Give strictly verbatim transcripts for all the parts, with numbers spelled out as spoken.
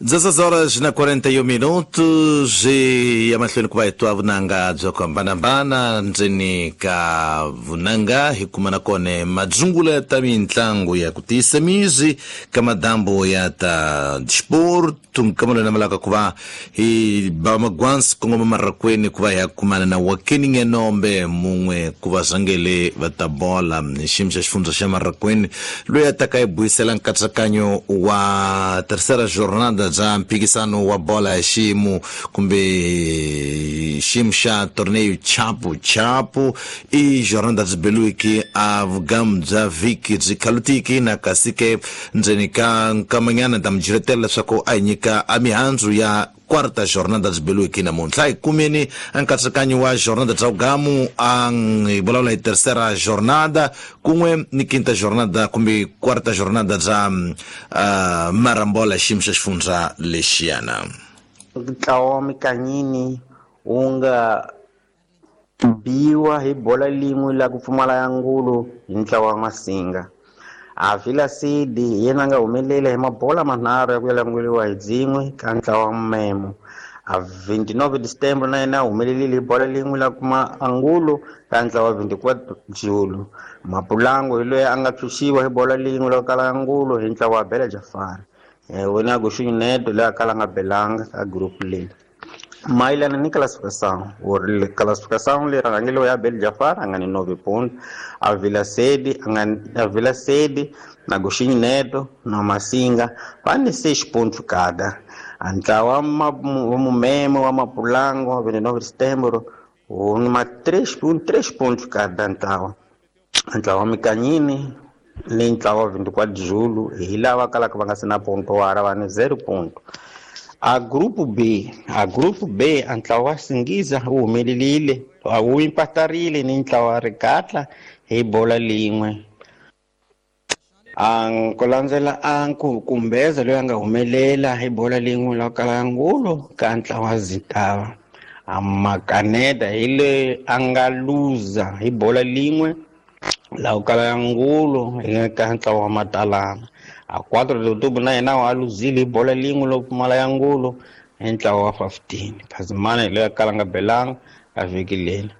dezesseis horas na quarenta e um minutos e emahlweni ku va hi twa vunanga byo hambanahambana ndzeni ka vunanga hi kuma na kona madzungula ta mintlangu ya ku tiyisa mizi ka madambo ya ta disporto nkamelo na malaka ku va hi ba magwansi kongoma marakweni ku va hi ya kumana na Wakeni Ngenombe mun'we ku va zangele va ta bola hi xiyimo xa xifundza xa Marakweni loyi a taka hi buyisela nkatsakanyo wa terceira jornada bya mphikisano wa bola ya xiyimo kumbe xiyimo xa torneio Chapu Chapu i jornada byi beluki a vugamu bya vhiki byi khalutiki na kasi ke ndzeni ka nkamanyana ta mi jiretela leswaku a hi nyika a mihandzu ya quarta jornada byi beluki namuntlha hi kumeni nkatsakanyo wa jornada bya vugamu a hi vulavula hi terceira jornada kun'we ni quinta jornada kumbe quarta jornada bya uh, marambola xiyimo xa xifundza lexiyana. Ntlawa wa Mikanyini wu nga biwa hi bola lin'we la ku pfumala ya ngulu hi ntlawa wa Masinga. A Vila Sidi hi yena a nga humelela hi mabola manharhu ya ku yalanguriwa hi dzin'we ka ntlawa wa Memo. A vinte e nove de Setembro na yena a humelerile hi bola lin'we la kuma angulo ka ntlawa wa vinte e quatro Julho. Mapulango hi loyi a nga pfuxiwa hi bola lin'we la ku kala angulo hi ntlawa wa Bela Jafari. Wena Agostinho Neto loyi a kala nga belanga ka group leyi. Mayelana ni classificação, classificação leyi rhangeriwe ya Abel Jafar a nga ni nove ponto, a Vila Sede a nga a Vila Sede na Agostinho Neto na Masinga va ni seis pontos cada. A ntlawa wa Mumemo wa Mapulango wa vinte e nove de Setembro wu ni ma três pontos, três pontos cada ntlawa. Ntlawa wa Mikanyini ni ntlawa wa vinte e quatro de Julho hi lava kalaka va nga se na ponto wara va ni zero ponto. A grupo B, a grupo B a ntlawa wa Singiza wu humelerile wu impatarile ni ntlawa wa Rikatla hi bola lin'we. A ku landzela a Nkumbeza loyi a nga humelela hi bola lin'we la kala ngulo ka ntlawa wa Zintava. A Makaneta hi loyi a nga luza hi bola lin'we la ku kala ngulo hi ka ntlawa wa Matalana. A quatro de outubro na yena wa luzile hi bola lin'we lo pfumala ya ngulo hi ntlawa wa quinze. Phazimana hi loyi a kala nga belanga a vhiki leri.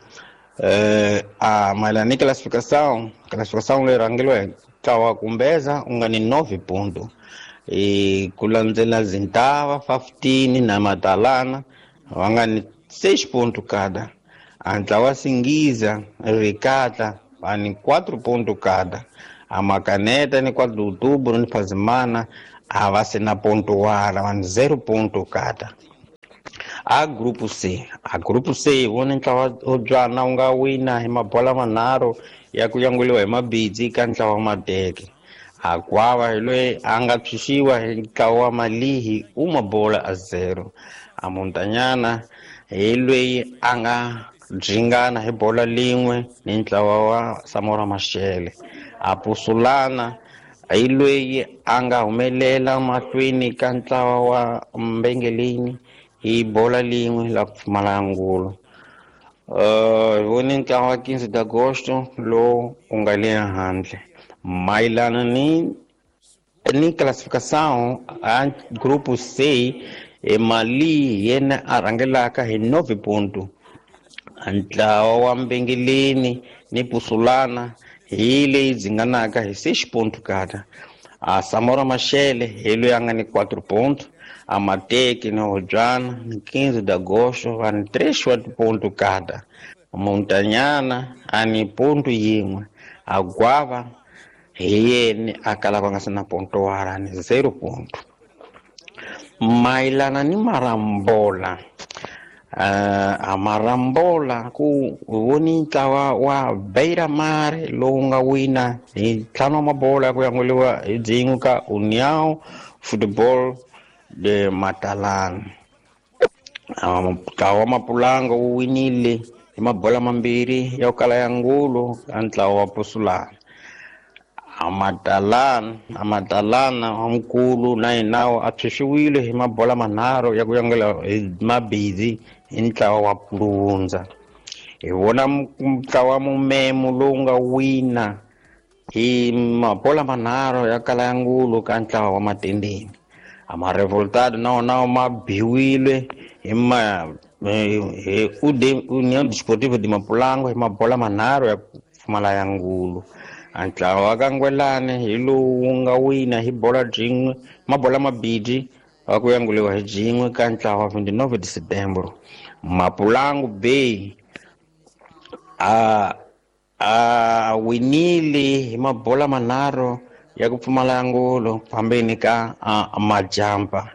Eh a mayelana ni classificação, classificação leyi rhangeriwe hi ntlawa wa Kumbeza u nga ni nove ponto. E ku landzela Zintava quinze na Matalana va nga ni seis ponto cada. A ntlawa wa Singiza Rikatla va ni quatro ponto cada. A Makaneta ni quatro de outubro ni Phazimana a va se na ponto wala va ni zero ponto cada. A grupo C, a grupo C vona ntlawa wo Dzwana wu nga wina hi mabola manharhu ya ku yanguliwa hi mabidzi ka ntlawa wa Mateke. A Gwava hi loyi a nga pfuxiwa hi ntlawa wa Malihi u mabola a zero. A Montanyana hi loyi a nga dringana hi bola lin'we ni ntlawa wa Samora Machel. A Pusulana hi loyi a nga humelela mahlweni ka ntlawa wa Mbengeleni hi bola lin'we la ku pfumala ngulo. Uh, hi vone ntlawa wa quinze de agosto lowu wu nga le handle. Mayelana ni ni classificação a grupo C e Mali yena a rhangelaka hi nove ponto. Ntlawa wa Mbengeleni ni Pusulana hi leyi dzinganaka hi seis ponto kada. A Samora Machel hi loyi a nga ni quatro ponto. A Mateke ni Hodzwana ni quinze de agosto va ni três ponto kada. Montanyana a ni ponto yin'we. A Gwava hi yena a kalaka nga se na ponto wara ni zero ponto. Mayelana ni Marambola, uh, a Marambola ku voni ntlawa wa Beira Mar lowu nga wina hi ntlhanu wa mabola ya ku yanguliwa hi dzin'we ka União Football de Matalana. Ntlawa wa Mapulango wu winile hi mabola mambirhi ya ku kala ya ngulo ka ntlawa wa Pusulana. A Matalana, a Matalana wa mukulu na yena a pfuxiwile hi mabola manharhu ya ku yangula hi mabidzi hi ntlawa wa Pulundza. Hi vona ntlawa wa Mumemo lowu nga wina hi mabola manharhu ya kala ya ngulo ka ntlawa wa Matendeni. A ma-revoltado na wona ma biwile hi ma hi União Desportiva de Mapulango hi mabola manharhu ya ku pfumala ya ngulu. A ntlawa wa ka Ngwelani hi lowu wu nga wina hi bola byin'we mabola mabidi wa ku yanguliwa hi byin'we ka ntlawa wa twenty-nove de Setembro. Mapulango Bay a a winile hi mabola manharhu ya ku pfumala ngolo fambeni ka Majampa.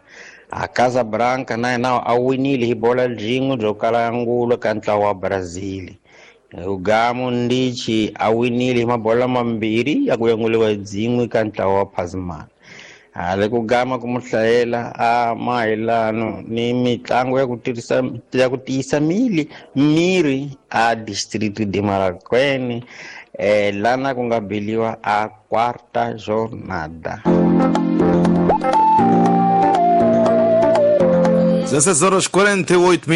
A Casablanca na yena a winile hi bola byin'we byo kala ngulo ka ntlawa wa Brazil. Ugamo Ndichi a winile hi mabola mambirhi ya ku yanguliwa hi byin'we ka ntlawa wa Pasman. Hale ku gama ku muhlayela a mayelano ni mitlangu ya ku tirhisa ya ku tiyisa mili miri a district de Marraquene eh lana ku nga biliwa a quarta jornada. dezesseis horas quarenta e oito minutos.